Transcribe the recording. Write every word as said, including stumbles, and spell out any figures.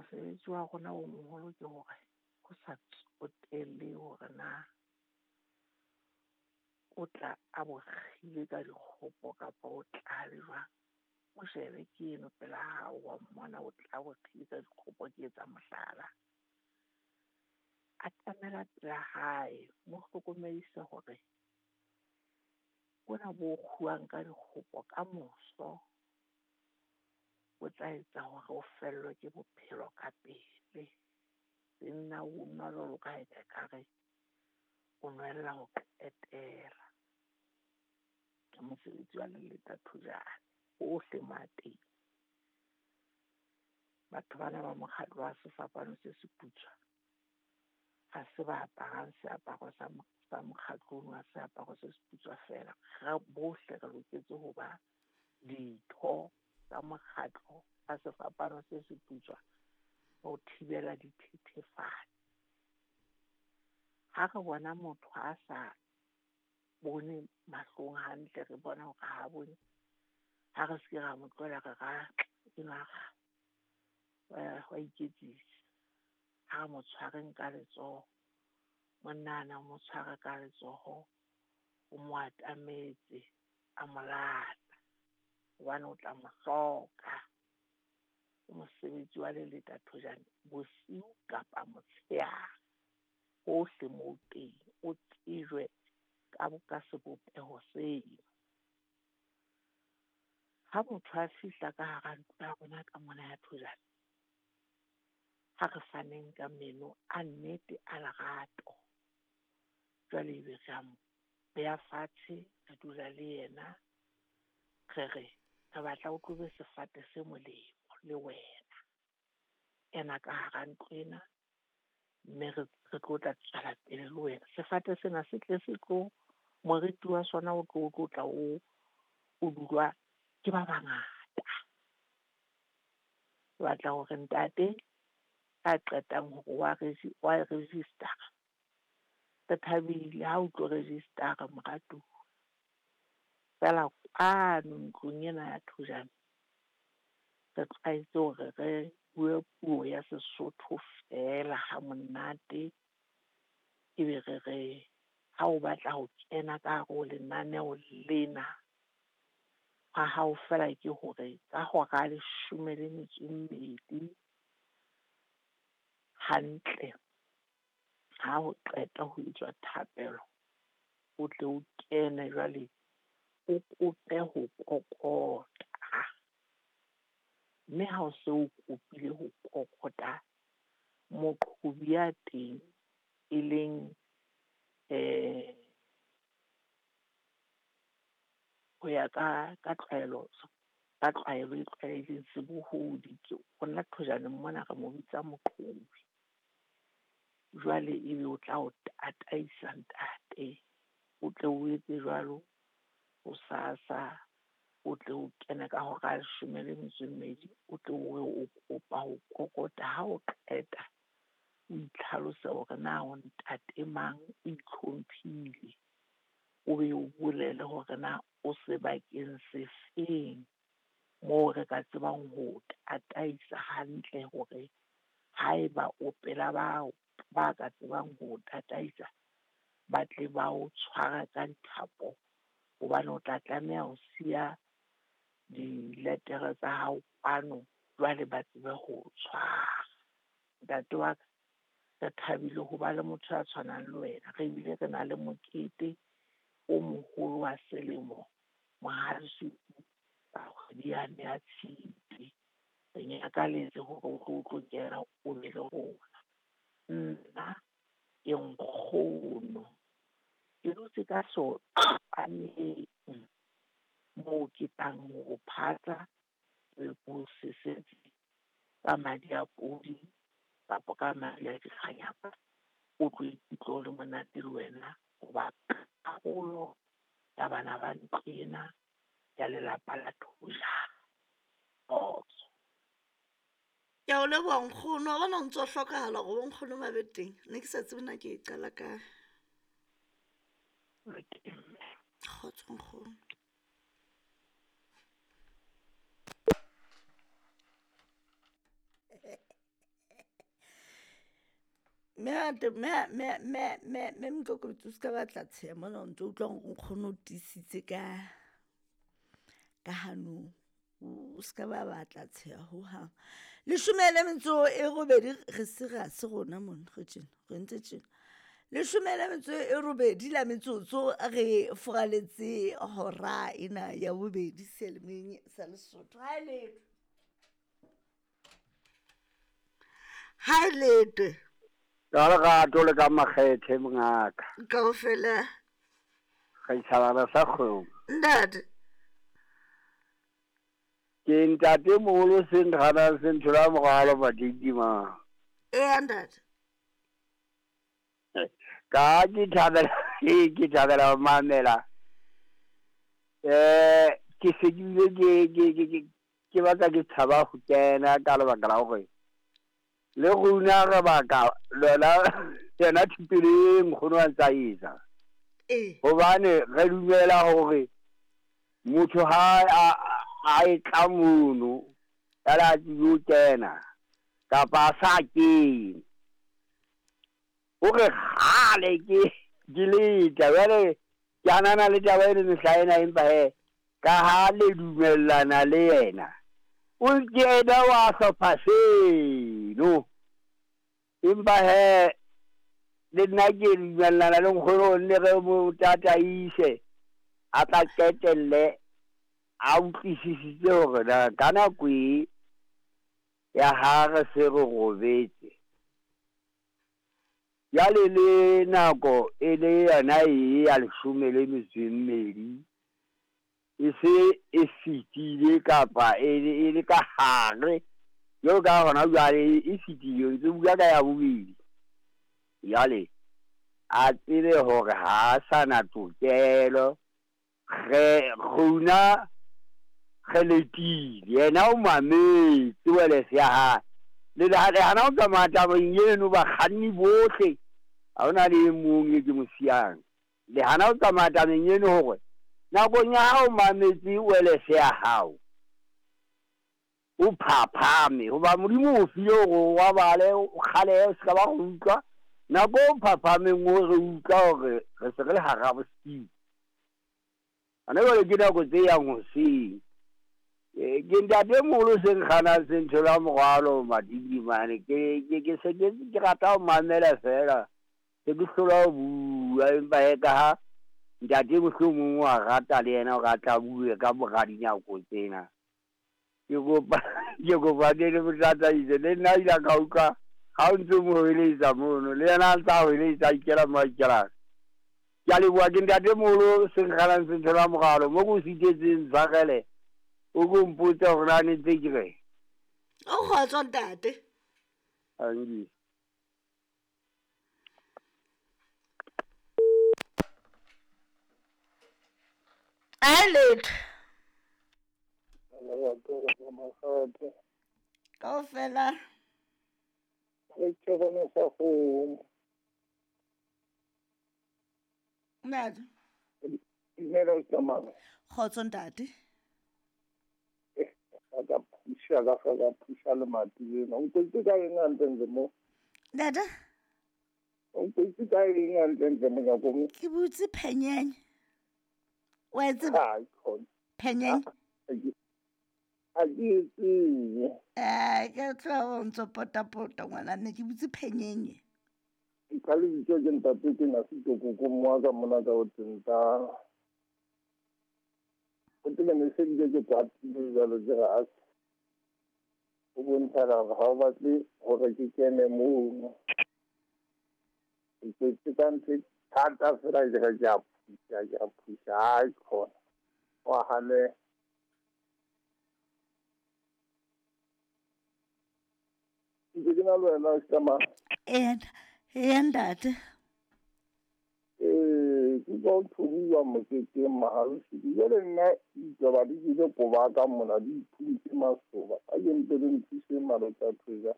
Mosebetsi wa rona o moholo ke hore ho sa tsotelle hore na o tla a bo kgile ka dikgopo kapa o tla le jwang. O shebe ke eno pela hao wa mmona o tla bo kgile ka dikgopo, ke etsa mohlala. Atamela pela hae, mo hlokomedise hore bona bo kguwang ka dikgopo kamoso o tla etsa hore o fellwe ke bophelo ka pele. Senna o nwa jwalo ka ha ekare o nwella ho qetela. Ke mosebetsi wa Leleta Thojane hohle mo a teng. Batho bana ba mokgatlo wa Sefapano se Seputswa ha se ba aparang seaparo sa sa mokgatlo ono wa seaparo se seputswa feela. Re bohle re loketse ho ba ditho tsa mokgatlo wa Sefapano se Seputswa ho thibela dithethefatsi. Ha re bona motho a sa bone mahlong hantle, re bona hore ha bone, ha re se ra mo tlohela re ra enwa wa iketsisa. Ha re mo tshwareng ka letsoho, monna ana o mo tshware ka letsoho, o mo atametse, a mo lata hobane o tla mo hloka. Ke mosebetsi wa Leleta Thojane bosiu kapa motshehare, hohle moo teng o tsejwe ka ka sebopeho seo. Ha motho a fihla ka hara ntlo ya rona ka mona ya Thojane, ha re faneng ka meno a nnete a lerato. Jwale ebe re a mo beha fatshe, re dula le yena, re re re batla o tlobe sefate se molemo le wena. Ena ka hara ntlo ena, mme re re tlo tla tswela pele le wena. Sefate sena se tle se tlo moriti wa sona o tlo tlo tla o o dulwa ke ba bangata. Ke batla hore ntate a qetang hore wa wa register-a, re thabile ha o tlo register-a moratuwa. Feela kwano ntlong ena ya Thojane re tlwaetse hore re bue puo ya Sesotho feela ha monate. Ebe re re ha o batla ho kena ka hare ho lenaneo lena, ha hao feela ke hore ka hora ya leshome le metso e mmedi hantle, ha o qeta ho etswa thapelo, o tle o kene jwale o kope ho kokota. Mme ha o se o kopile ho kokota, moqhobi ya teng e leng ho ya ka ka tlwaelo ka tlwaelo e tlwaelehileng sebohodi ke rona Thojaneng mona re mo bitsa moqhobi. Jwale ebe o tla o tataisa ntate, o tle o etse jwalo hosasa, o tle o kene ka hora ya leshome le metso e mmedi, o tle o re o kopa ho kokota. Ha o qeta o itlhalose hore na o ntate mang, o itlhomphile, o be o bolele hore na o sebakeng se feng moo re ka tsebang ho tataisa hantle hore haeba o pela bao ba ka tsebang ho tataisa, ba tle ba o tshwara ka dithapo, hobane o tla tlameha ho siya diletere tsa hao kwano, jwale ba tsebe ho o tshwara. Ntate wa ka, re thabile ho ba le motho ya tshwanang le wena. Re bile re na le mokete o moholo wa selemo Mohale's ka kgwedi yane ya Tshitwe. Re nyakaletse hore o tlo tlo kena o be le rona. Nna ke nkgono, ke dutse ka soqaneng moo ke tlang ho phatsa le ho sesetse ka madi a podi kapa ka madi a dikganyapa. O tlo ikutlwa o le monate le wena hoba karolo ya bana ba ntlo ena ya lelapa la Thojane. Kgotso. Ke a o leboha nkgono, wa bona o ntso hlokahala hore bo nkgono ba be teng. Ne ke sa tsebe na ke e qala kae. Kgotso nkgono. Mme mme mme mme mme Mokokobetsi o ska batla tsheha mona o ntso utlwa hore nkgono o tiisitse ka ka hanong. O ska ba batla tsheha hohang. Leshome le metso e robedi re serious rona mona re tjena, re entse tjena. Leshome le metso e robedi la metsotso re furaletse hora ena ya bobedi seyalemoyeng sa Lesotho. Ha e letho. Ha e letwe. Ka lerato le ka makgethe mongaka. Kaofela. Re tjhabana sa kgomo. Ntate. Ke ntate moholo seng gana se nthola moralo madidima. Eh ntate. Ka ke thabela ke thabela ho mamela. Eh ke se ke bile ke ke ke ke batla ke tshaba ho kena ka lebaka la hore le rona re baka lona yona thupelo e nkgono a ntsa etsa. Eh. Hobane re dumela hore motho ha a a e tla mono ya la tsebe ho kena kapa a sa kene. Hore kgale ke ke leta jwale ke anana le taba eno mehla ena, empa hee ka ha le dumellana le yena o ke yena wa hlopha seno. Empa hee le nna ke dumellana le nkgono nne re mo tataise a tla qetelle a utlwisisitse hore na ka nako e ya ha re se re robetse jwale le nako e le yona e ya leshome le metso e mmedi e se e fetile kapa e le ka hare jwalo ka hona jwale e fetile, ntse bua ka ya bobedi. Jwale a tsebe hore ha a sa na tokelo, re rona re letile yena o mametse welese ya hae. Le le hana ho tsamaya tabeng eno bakganni bohle ha hona le e mong e ke mo siyang. Le hana ho tsamaya tabeng eno hore nakong ya ha o mametse welese ya hao o phaphame, hoba Modimo o file hore o robale o kgalehe o ska ba go utlwa. Nako o phaphameng o re utlwa hore re se re le hara bosiu. Hona jwale ke nako tse yang hoseng. Ke ntate moholo seng kganang se nthola morwalo madidimane. Ke ke ke se ke ke rata ho mamela feela. Se ke hlola ho bua, empa hee ka ha ntate mohlomong wa rata le yena hore a tla bue ka mora dinako tsena. Ke kopa ke kopa ke le mo tataise le nna ile ka utlwa ha o ntso mo hweletsa mono le yena a ntsa hweletsa a ikela mo a ikelang. Ke a leboha, ke ntate moholo seng kganang se nthola morwalo mo ke o sitetseng tshwarele. O ko mpotse hore na ne ntse ke reng. O kgotso ntate. Angi. A letho. Kaofela. Ke bona sa kgomo. Ntate. Dumela o tsamaya. Kgotso ntate. Ka phusha ka ka phusha le mati lena. O ntse ka eng hantle mo? Ntate. O ntse ka eng hantle mo nyako mo? Ke butse phenyenye. Wa e tseba? Ha, khona. Phenyenye. Ha ke e tsebe. Eh, ke tla o ntso potapota ngwana ne ke butse phenyenye. Ka lebitso ke ntate ke na se koko mo ka mona ka o tsenta. O tla ne se ke ke kwatile jwalo ke re a o bontsha hore ha o batle hore ke kene mono. Ke ke ka ntho e thata fela ke re ke a phusha, ke a phusha, hai khona. Wa hane. Ke ke na le wena o tsamaya. Eh, eh ntate. Eh, ke ka o thubuwa moketeng maharusi. Jwale nna ditaba di jele koba ka mona di iphuntse masoba. A ke mpe le nthuse malotsa thuja.